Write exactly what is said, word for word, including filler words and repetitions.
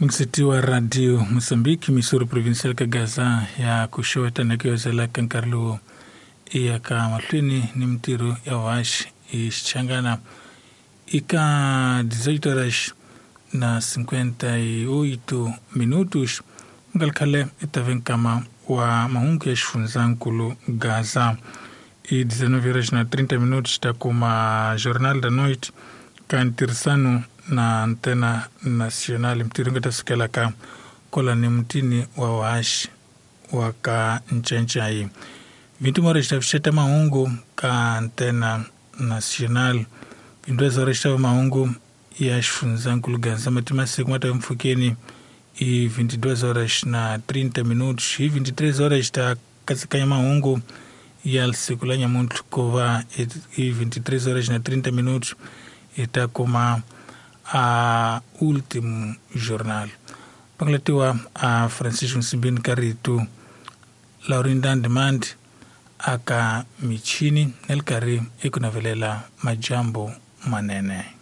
Msiti wa Radio Mozambique, Missouri Provincial ka Gaza ya kuxeweta na ku yozela ka nkarhi lowu i ya ka mahlweni ni mintirho ya vuhaxi hi Xichangana eka dezoito horas na cinquenta e oito minutos nga ri khale i ta ve nkama wa mahungu ya xifundzankulu Gaza. I dezenove horas na trinta minutos ta kuma Jornal da Noite ka ntirhisano na Antena Nacional. Mintirho nga ta sukela ka kwalani mutini wa vuhaxi wa ka Ncancai. vinte e uma horas ta fixeta mahungu ka Antena Nacional. vinte e duas horas ta mahungu ya xifundzankulu Gaza mati masiku ma ta mpfhukeni i vinte e duas horas na trinta minutos. Hi vinte e três horas ta katsekanya mahungu ya siku la nyamuntlha ku va i vinte e três horas na trinta minutos hi ta kuma a último jornal. Pangalatiwa a Francisco Nsimbini ka rito Laurinda Demand aka michini na le karhi eku navelela majambu manene.